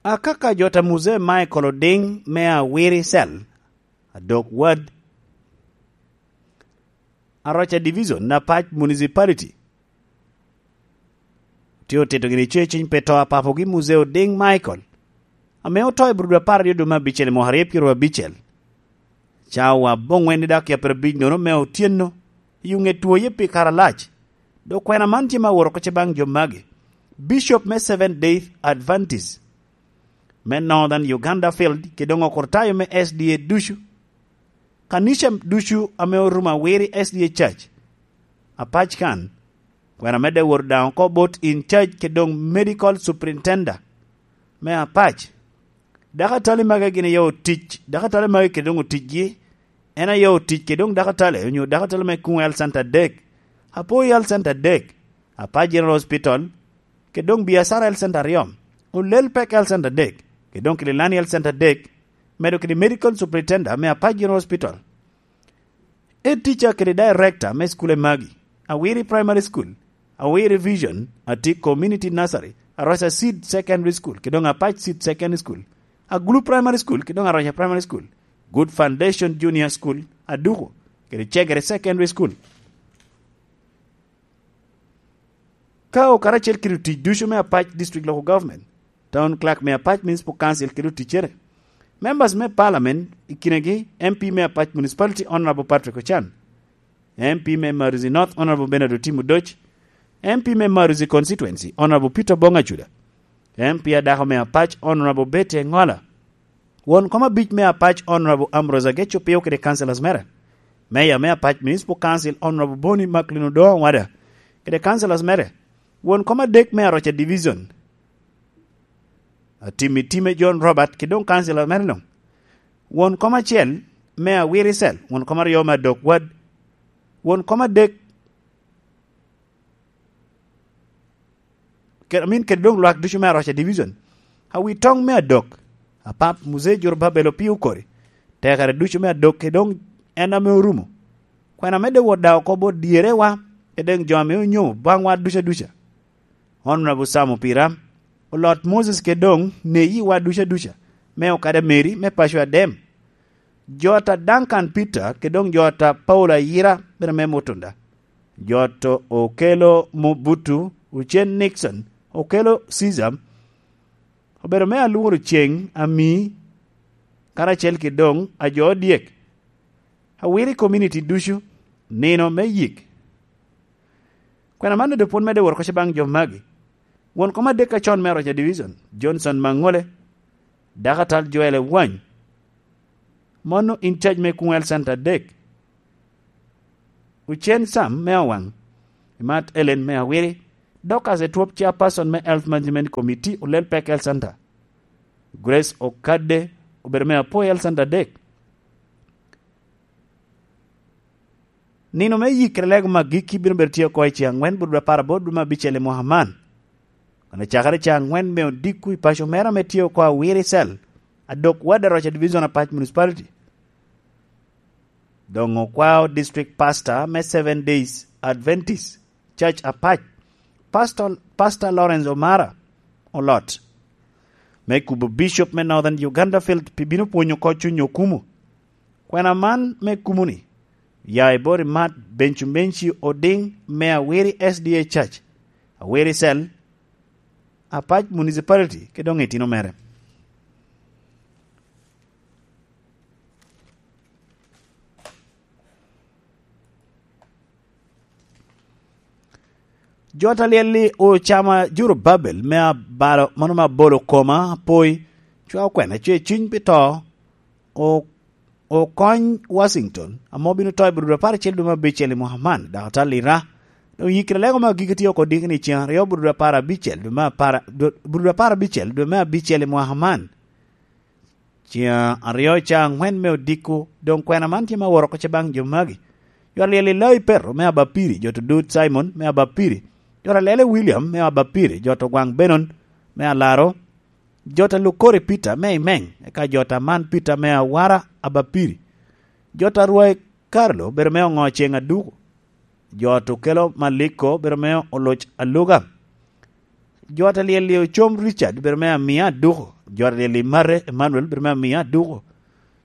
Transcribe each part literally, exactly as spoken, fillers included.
Akaka jo ta Muzee Michael Oding me Awiri Cell, Adok Ward, Aroca Division, Apac Municipality, tye otito gini ceciny pe to a papogi Muzee Oding Michael, ame oto i Burudu apar aryo dwe me abicel i mwaka aryo pyeraryo abicel. Cawa aboŋwen i dakika pyerabic nono me otyeno, i ŋet twoye pi kare alac. Dok kwena man tye me awot oko ce baŋ jo magi: Bishop me Seventh Day Adventist me Northern Uganda Field, kede doŋ okurtayo me S D A ducu, kanica ducu ame orumo Awiri S D A Church, Apac kan, kwena medde wot daŋ oko bot in charge kede doŋ medical superintendent me Apac. Dakatali magi gin aye otic, dakatali magi kede doŋ oticgi, en aye otic kede doŋ dakatali, onyo dakatali me Kuŋ Health Center adek, Apoi Health Center adek, Apac General Hospital, kede doŋ Biacara Health Center aryo, Olel Pek Health Center adek, kede doŋ Kililani Health Center adek, medo kede Medical Superintendent me Apac General Hospital. Head teacher kede director me school magi: Awiri Primary School, Awiri Vision, Atik Community Nursery, Aroca Seed Secondary School, kede doŋ Apac Seed Secondary School, Agulu Primary School, kede doŋ Aroca Primary School, Good Foundation Junior School, Aduku, kede Chegere Secondary School. Ka okaracel kede otic ducu me Apac District Local Government, Town Clerk me Apac Municipal Council kede oticcere, members me Parliament, i kinegi M P me Apac Municipality, Honorable Patrick Ochan, M P me Maruzi North, Honorable Bernard Otim Odoc, M P me Maruzi Constituency, Honorable Peter Bong Acuda, M P adako me Apac, Honorable Betty Engola, won kom abic me Apac, Honorable Ambrose Ageco Pio kede councillors mere, Mayor me Apac Municipal Council, Honorable Boni Macklin Odongo Wada kede councillors mere, won kom adek me Aroca Division, Atimi Time John Robert, kede doŋ councillor mere luŋ, won kom acel me Awiri Cell, won kom aryo me Adok Ward, won kom adek kede, amin kede doŋ lwak ducu me Aroca Division, awi toŋ me Adok, Apap Muzee Jorobabel Opio Okori, tekere ducu me Adok, kede doŋ en ame orumo. Kwena medde wot daŋ oko bot dyerewa, kede doŋ jo ame onyomo baŋwa duca duca. Honorable Sam Opira, Olot Moses, kede doŋ neyiwa duca duca, me okada Mary, me paco Adem. Jot a Duncan Peter, kede doŋ jot a Paul Ayira, bene me Mutunda. Jot Okelo Mobutu, Ucen Nixon, Okelo Caesar, obedo me alworo ceŋ ami, karacel kede doŋ a jo odyek, Awiri community ducu, nino me yik. Kwena man doŋ pwod medde wot oko ce baŋ jo magi. Won kom adek acon me Aroca Division, Johnson Maŋole, Dakatal Joel Ewany, mano in charge me Kuŋ Health Center adek, Ucen Sam me Awaŋ, Imat Ellen me Awiri, Dorcas Etwop, chairperson me Health Management Committee, Olel Pek Health Center, Grace Okadde, obedo me Apoi Health Center adek. Nino me yikere lego me agikki bino bedo tye oko i ce aŋwen, Burudu apar abot dwe me abicel i mwaka man. Kono cakere ce aŋwen me odiko i paco mere ame tye oko Awiri Cell, Adok Ward, Aroca Division, Apac Municipality, doŋ okwao District Pastor me Seven Days Adventist Church Apac, Pastor, Pastor Lawrence Omara Olot, me kubo Bishop me Northern Uganda Field pi bino pwonyo oko cuny okumu. Kwena man me kumu-ni ya i bot Imat Bencumenci Oding me Awiri S D A Church, Awiri Cell, Apac Municipality, kede doŋ itino mere. Jo ta lyel-li ocama Jorobabel me abalo, mano me abolo koma apoi, cwa okwena cwe cuny pi to, o-, okony Washington, ame obino to i Burudu apar acel dwe me abicel i mwaka man, dok atalira. Doŋ yikere lego me agikki tye oko diki ni ceŋ aryo Burudu apar abicel dwe me apar, dwe, Burudu apar abicel dwe me abicel i mwaka man. Ceŋ aryo ca aŋwen me odiko, doŋ kwena man tye me aworo oko ce baŋ jo magi. Jot alyel Ilai Petro me Abapiri, jot Odut Simon me Abapiri, jot alyele William me Abapiri, jot Ogwaŋ Benon me Alaro, jot Alukori Peter me Imeng, eka jot Aman Peter me Awara Abapiri, jot Arwai Carlo bedo me Oŋo Ceŋ Aduku, jot Okelo Maliko bedo me Oloc Aluga, jot alyel Ocom Richard bedo me Amia Aduku, Jo a lyel i Mare, Emmanuel, bedo me amiya aduko.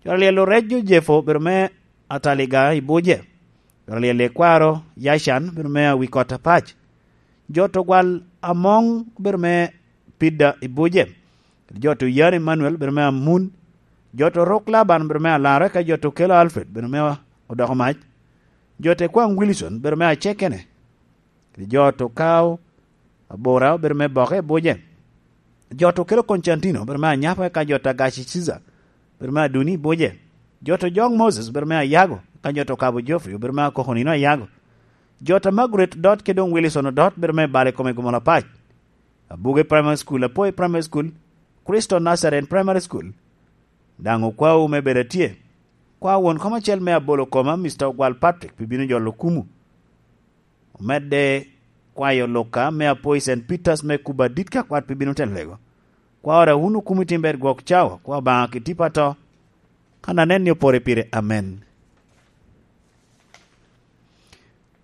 Jo a lyel Orejo, Jefo, bedo me Ataliga i Buje. Jo a lyel i Kwaro, Yacan, bedo me Awikot Apac. Jo to gwal Amoŋ, bedo me Pida i Buje. Jo to Yan Emmanuel, bedo me Amun. Jo to Rok Laban, bedo me Alaro, eka jo to Kelo Alfred, bedo me Odoko Mac. Jo to Kwaŋ Wilson, bedo me Acekene. Kede jo to Kao Abora, bedo me Boke i Buje. Jo to Kelo Constantino, bedo me Anyapo, eka jo to Agaci Ciza, bedo me Aduni i Buje. Jo to Joŋ Moses, bedo me Ayago, eka jo to Kabo Geoffrey, bedo me Akoko Nino Ayago. Jo to Margaret Odot, kede doŋ Wilson Odot, bedo me Bale Kome Gomol Apac. Abuge Primary School, Apoi Primary School, Kristo Nazarene Primary School. Daŋ okwawu me bedo atye. Kwa won kom acel me abolo koma, Mister Ogwal Patrick, pi bino jolo kumu. Omedde kwayo Luka me Apoi Saint Peters me kubo adit ka kwat pi bino te lego. Kwa ora wun okumu i tim ber gwok cawa, kwa Obaŋa ki tipo ato. Kan anen ni opore pire, amen.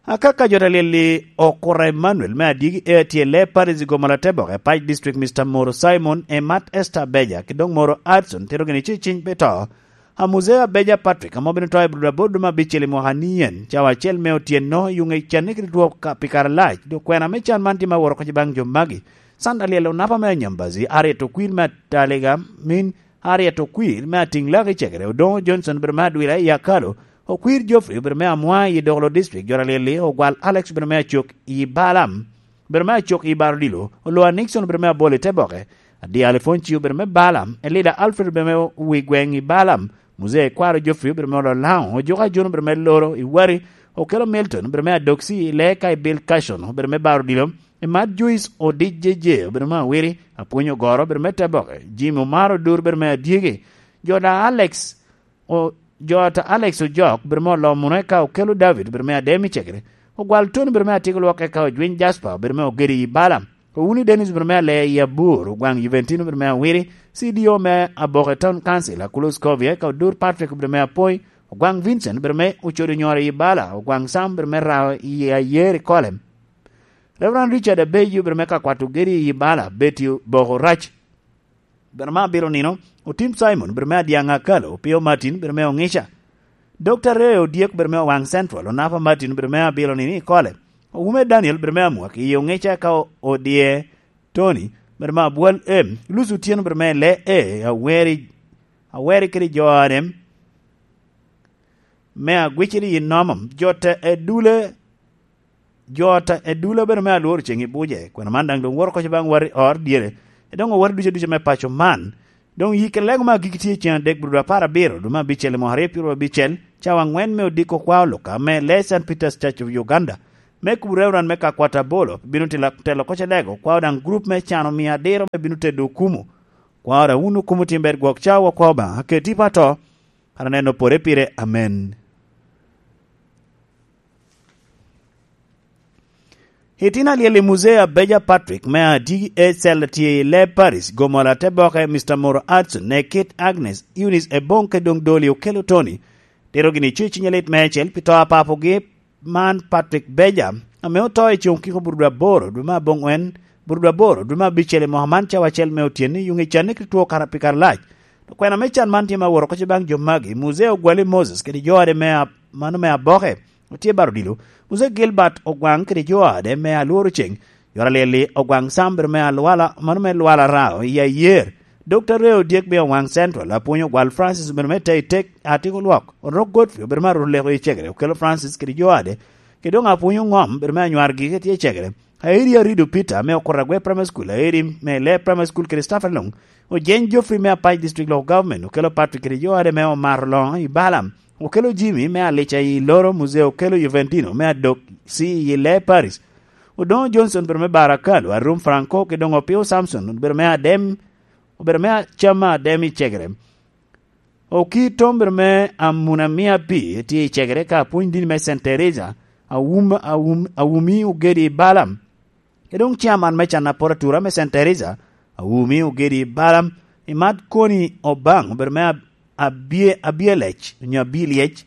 Akaka jo ta lyel-li Okura Emmanuel me Adyegi A T L A Paris i Gomola Teboke, Pac District, Mister Moro Simon, Emat Esther Abeja, ki doŋ Moro Adson, tito gini ci ciny pe to. A Muzee Abeja Patrick, ame obino to i Budabod me abicel i mwaka ni en, cawa acel me otyeno, yuŋ i canne kede two ka pi kare alac, dok kwena me can man tye me aworo kec baŋ jo magi. Sanda lyel onapa me Anyambazi, Harriet Okwir me Ataliga, min Harriet Okwir me Atiŋlak i Cegere, Odoŋo Johnson bedo me Adwila i Akalo, Okwir Geoffrey obedo me Amwa i Dokolo District, jo ta lyel-li Ogwal Alex obedo me Acok i Balaam, obedo me Acok i Barodilo, Olwa Nixon obedo me Abol i Teboke, Adyal Ifonci obedo me Balaam, Elida Alfred obedo me Wi Gweŋ i Balaam, Muzee Kwaro Geoffrey obedo me Ololaŋo, Ojuka Jun obedo me Loro i Wari, Okelo Milton obedo me Adoksi i Lee ka i Bill Cashon obedo me Barodilo, Emat Joyce Odic Jeje obedo me Awiri, Apwony Ogoro obedo me Teboke, Jim Omar Odur obedo me Adyegi, jo ta Alex O-, jo ta Alex Ojok, bedo me Olomuno, eka Okelo David, bedo me Adem i Cegere, Ogwal Tony, bedo me Atiko Lwok, eka Ojwiny Jasper, bedo me Ogedi i Bala, Owuni Dennis, bedo me Ale i Abur, Ogwaŋ Juventino, bedo me Awiri, C D O me Aboke Town Council, Akulo Scovia, eka Odur Patrick, bedo me Apoi, Ogwaŋ Vincent, bedo me Ocodo Nyoro i Bala, Ogwaŋ Sam, bedo me Rao i Ayer i Kolem, Reverend Richard Abeyo, bedo me Kakwat Ogedi i Bala, Betty Boko Rac, bedo me Abilo Nino, Otim Simon, bedo me Adyaŋ Akalo, Opio Martin, bedo me Oŋica, Dokta Reo Odyek, bedo me Owaŋ Central, Onapa Martin, bedo me Abilo Nino i Kole, Owume Daniel, bedo me Amwak i Oŋica, ka o-, Odye Tony, bedo me Abwal M, Lucy Otyeno, bedo me Le E, Aweri, Aweri kede jo ane me Agwiciri i Nomom, jo te Edule, jo ta Edula bedo me Alworo Ceŋ i Buje. Kwena man daŋ doŋ woto koc baŋ wati ot dyere, e doŋ owati ducu aduca me paco man. Doŋ yik lego me agikki tye ceŋ adek, Budo apar abiro, dwe me abicel i mwaka aryo pyeraryo abicel, cawa aŋwen me odiko kwa oluka me Lee Saint Peter's Church of Uganda, me kubo Reverend me Kakwat Abolo, bino tila-, telo koc lego, kwao daŋ gurup me cano mia adiro me bino tedo okumu. Kwao daŋ wun okumu tim ber gwok cawa kwa Obaŋa, keti pa to, kara neno pore pire. Amen. Itino alyel i Muzee Abeja Patrick me Adigi Ecel tye i Le Paris, Gomola te boke, Mister Moro Adson, Nekit Agnes, Eunice Ebong, ke doŋ Doli Okelo Tony. Tito gini co i cinye lit me ecel pi to a papogi man Patrick Beja, ame oto i coŋ kiko burudwa aboro, dwe me aboŋwen, burudwa aboro, dwe me abicel i mwaka man cawa acel me otyeni, yuŋ i canne kede two kara pi kare lac. Okwena me can man tye me aworo koc baŋ jo magi, Muzee Ogwali Moses kede jo ade me a-, mano me aboke, otye baro odilo. Muzee Gilbert Ogwaŋ kede jo ade me alworo ceŋ, jo alyel-li Ogwaŋ Sam bedo me alwala, mano me lwala Rao i Ayer. Dokta Reo Odyek me Ogwaŋ Central, Apwony Ogwal Francis bedo me Teitek, Atiko Lwok, Orok Godfrey obedo me Aruleko i Cegere, Okelo Francis kede jo ade, kede doŋ Apwony Oŋom bedo me anywar gigi tye i Cegere. Aeri Arido Peter me Okura Agwe Primary School, Aeri me Lee Primary School kede staff along, Ojeny Geoffrey me Apac District Local Government, Okelo Patrick kede jo ade me Omar Oloŋo i Balaam, Okelo Jimmy me Alica i Loro, Muzee Okelo Juventino me Adok C i Lee Paris, Odoŋo Johnson bedo me Barakalo, Arum Franco kede doŋ Opio Samson bedo me Adem, obedo me Acama Adem i Cegere. Okii Tom bedo me Amuna Mia Pi tye i Cegere ka apwony dini me Saint Teresa, Awum-, Awum-, Awumi Ogedi i Balaam. Ke doŋ chairman me can apor atura me Saint Teresa, Awumi Ogedi i Balaam, Imat Koni Obaŋ obedo me Ab-, Abie-, Abielec, onyo Abilyec.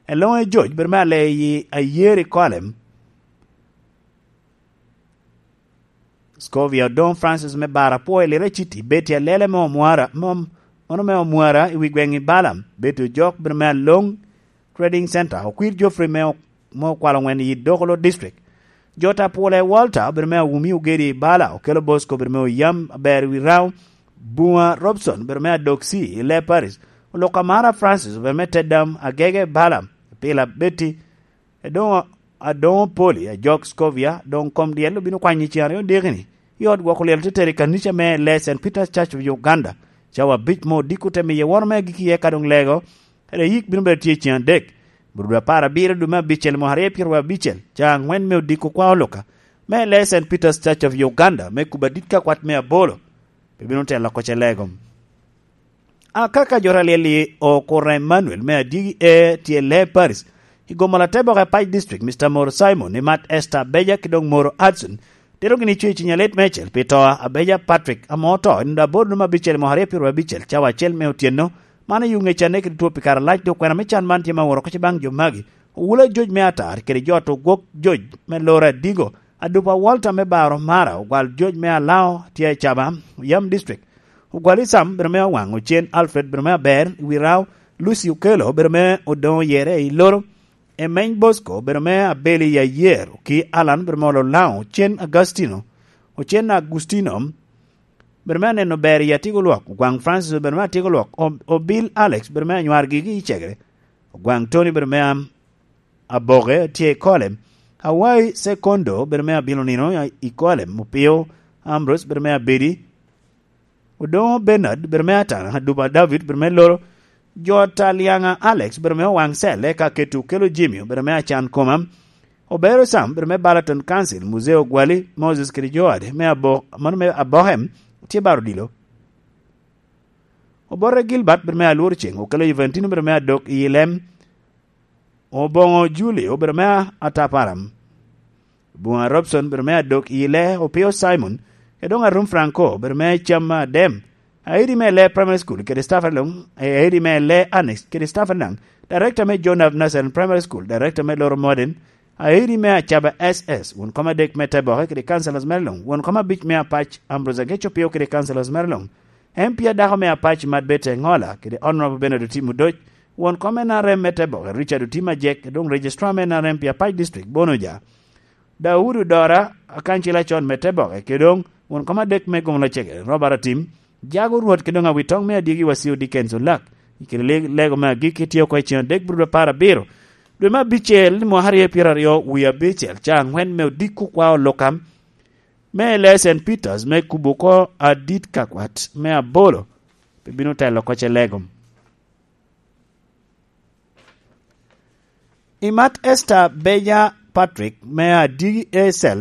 Eloŋe George bedo me Aleyi Ayer i Kolem. Scovia Odongo Francis me Bara Pwoyo Lira City, Betty Alele me Omwara, me Om-, mano me Omwara i wi gweŋ i Bala, Betty Ojok bino me Along Trading Center, Okwir Geoffrey me O-, me Okwalo Ŋwen i Dokolo District. Jota Pwole Walter bino me Awumi Ogedi i Bala, Okelo Bosco bino me Oyam Aber i wi Rao, Buma Robson bino me Adoksi i Le Paris, Oluka Mara Francis bino me Teddam Agege Bala, Pila Betty, Edoŋo, Adoŋo Poli, Ajok Scovia, doŋ kom dyel obino kwanyo i cen aryo dikini, i ot gwoko lyel teteri i kanica me Le Saint Peter's Church of Uganda, cawa abic me odiko te miye woro me agikki iye ka doŋ lego, kede yik bino bedo tye i cen adek, Brudo apar abiro dwe me abicel mwaka aryo pyeraryo abicel, ca angwen me odiko kwa oluka, me Le Saint Peter's Church of Uganda, me kubo adit ka kwat me abolo, pe bino telo oko ce lego. Akaka jo alyel-li Okura Emmanuel me Adigi E tye Le Paris, i gomo Lateboka i Pac District, Mister Moro Simon, i Mat Esther Beja ki doŋ Moro Hudson, tero gini cuyo i ciny alet meicel pi to a Beja Patrick, ame oto i nino aboro dwe me abicel mwaka aryo pyeraryo abicel, cawa acel me otyeno. Man oyo ŋec aneke tutuo pi kare alac, dok kwena me can man tye ma oworo oko ce baŋ jo magi. Owula Joj me Atar kede jo ot ogwok Joj me Lora Adigo, Adupa Walter me Baro Mara, ogwal Joj me Alao tye i Caba, Yam District. Ogwal Isam bino me Owaŋ, Ocen Alfred bino me Aber i wi Rao, Lucy Okelo bino me Odoŋo Yere i Loro, Emeny Bosco bino me Abeli i Ayer, Oki Alan bino me Olo Laŋo, Ocen Agustino, Ocen Agustino bino me Aneno Ber i Atigo Lwok, Ogwaŋ Francis bino me Atigo Lwok, O-, Obil Alex bino me Anywar Gigi i Cegere, Ogwaŋ Tony bino me Am-, Aboke tye i Kolem, Awai Sekondo bino me Abilo Nino i Kolem, Opio Ambrose bino me Abedi, Odoŋo Bernard bino me Atana, Aduba David bino me Loro, Jota Liaŋa Alex bino me Owaŋ Cel, eka Keto Okelo Jimmy bino me Acan Koma, Obero Sam bino me Balaton Council, Muzeo Gwali, Moses kede Joad me Abo-, mano me Abohem tye baro odilo. Obote Gilbert bino me Alwor Ceŋ, Okelo Juventino bino me Adok i Lem, Oboŋo Julio bino me Ataparam, Buŋa Robson bino me Adok i Le, Opio Simon, Edoŋ Arum Franco bino me Cam Adem, Aidi me Le Primary School kede staff along, Aidi me Le Annex kede staff anaŋ, Director me John F. Nasser Primary School, Director me Loro Modern, Aidi me Acaba S S, won kom adek me Teboke kede councilors mere luŋ, won kom abic me Apac Ambrose Ageco Pio kede councilors mere luŋ, M P adako me Apac Mat Bete Ŋola kede Honorable Bernard Otim Odoc, won kom N R M me Teboke Richard Otim Ajek, doŋ Registrar me N R M pi Apac District Bono Oja, Daudi Odora, akancil acon me Teboke, kede doŋ won kom adek me Gomo Lacege Robert Atim, Jago Rwot kede doŋ Awitoŋ me Adyegi Wasio Dickens Olak, i kede le-, lego me agikki tye oko i ceŋ adek Brudo apar abiro, dwe me abicel, mwaka aryo pyeraryo wie abicel, ca angwen me odiko kwa oluka, me Le Saint Peters me kubo oko adit ka kwat me abolo, pe bino telo oko ce lego. I Mat Esther Beja Patrick me Adigi Esel